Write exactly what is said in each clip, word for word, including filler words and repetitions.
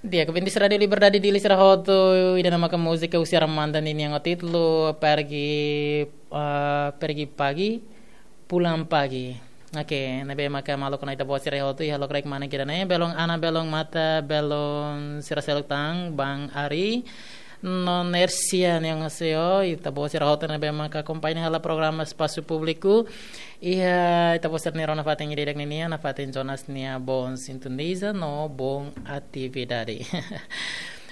Di'ak, ouvintes Rádio Liberdade Dili sira hotu, ida-ne'e maka múzika husi Armanda nian ho títulu Pergi, ah, Pergi Pagi, Pulang Pagi. Oke, ne'ebé maka maluk no ita-boot sira hotu iha lokraik mane ida-ne'e, belun Ana, belun Mata, belun sira seluk tan, Bang Ari, no Nersia, annyeonghaseyo, ita-boot sira hotu ne'ebé maka akompaña hela programa Espasu Públiku iha ita-boot sira-nia rona fatin ida-idak ninian, nafatin Jonas nia Bom Sintoniza no Bom Atividade.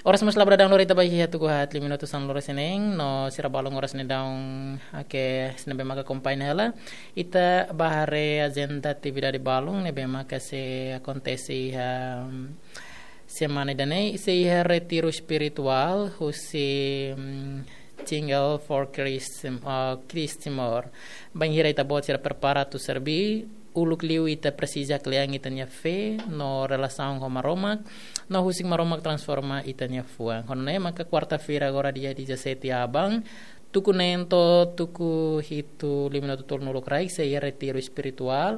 Oras mós la bele daudaun lori, ita ba iha tuku haat liu minutu sanulu-resin-neen, no sira balun oras ne'e daudaun, oke, sira ne'ebé maka akompaña hela. Ita ba haree ajenda atividade balun ne'ebé maka sei akontese iha, mm, semana ida-ne'e, sei iha retiru espirituál husi, mm, Single for Christ, ah, Christ Timor. Bainhira ita-boot sira prepara atu serbí, uluk liu ita presiza kle'an ita-nia fé no relasaun ho Maromak, no husik Maromak transforma ita-nia fuan. Ho nune'e maka kuarta-feira agora dia dezassete aban, tuku neen to'o tuku hitu liu minutu tolunulu kraik sei iha retiru espirituál,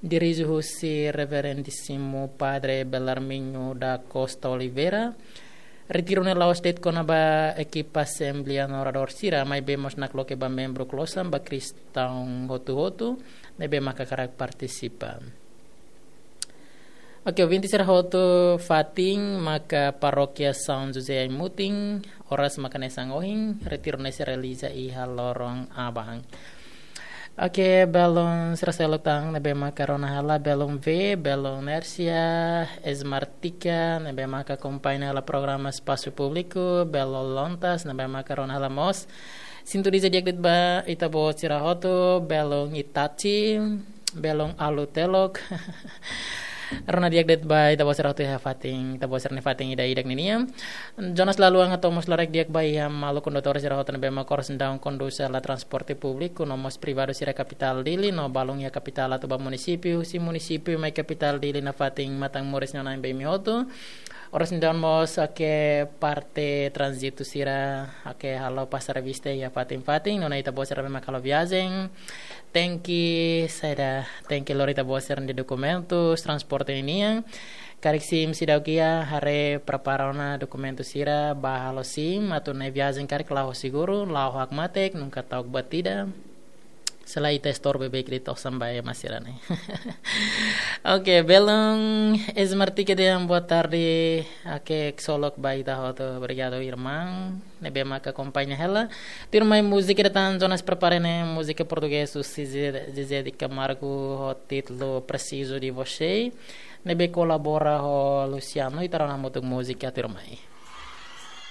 dirije husi Reverendíssimo Padre Belarmino da Costa Oliveira. Retiru ne'e la'ós de'it kona-ba ekipa asembleia no oradór sira, maibé mós nakloke ba membru klosan, ba kristaun hotu-hotu ne'ebé maka hakarak partisipa. Oke, ouvintes sira hotu, fatin maka Parókia São José Aimutin, oras maka hanesan ohin, retiru ne'e sei realiza iha loron aban. Oke, belun sira seluk tan ne'ebé maka rona hela, belun V, belun Nersia, Esmartika ne'ebé maka akompaña hela programa Espasu Públiku, belun Lontas ne'ebé maka rona hela mós. Sintoniza di'ak de'it ba ita-boot sira hotu, belun Itachi, belun Alu Telok. Rona di'ak de'it ba ita-boot sira hotu iha fatin, ita-boot sira-nia fatin ida-idak ninian. Jonas Laluan hato'o mós labarik di'ak ba iha maluk kondutór sira hotu ne'ebé maka oras ne'e daudaun kondús hela transporte públiku no mós privadu sira kapitál Dili no balun iha kapitál atu ba munisípiu, husi munisípiu mai kapitál Dili nafatin Matan Moris no na'in-been imi hotu. Oras ne'e daudaun mós, oke, parte tránzitu sira, oke, halo pasar vista iha fatin-fatin, nune'e ita-boot sira ne'ebé maka halo viajen, tenke saida, tenke lori ita-boot sira-nia dokumentus transporte ninian. Karik sim seidauk iha, haree prepara ona dokumentu sira, bá halo sim, atu nune'e viajen karik la'o ho seguru, la'o ho hakmatek, nunka ta'uk buat ida. Selae ita estorbu beik de'it osan ba ema sira-ne'e. Oke, belun Esmartika dehan boa tarde, oke, ksolok ba ita hotu, obrigadu irmaun ne'ebé maka akompaña hela. Tuirmai múzika ida tan Jonas prepara ne'e, múzika portugés husi Zezé, Zezé de Camargo ho títulu Preciso de Você, ne'ebé kolabora ho Luciano, ita rona hamutuk múzika tuirmai.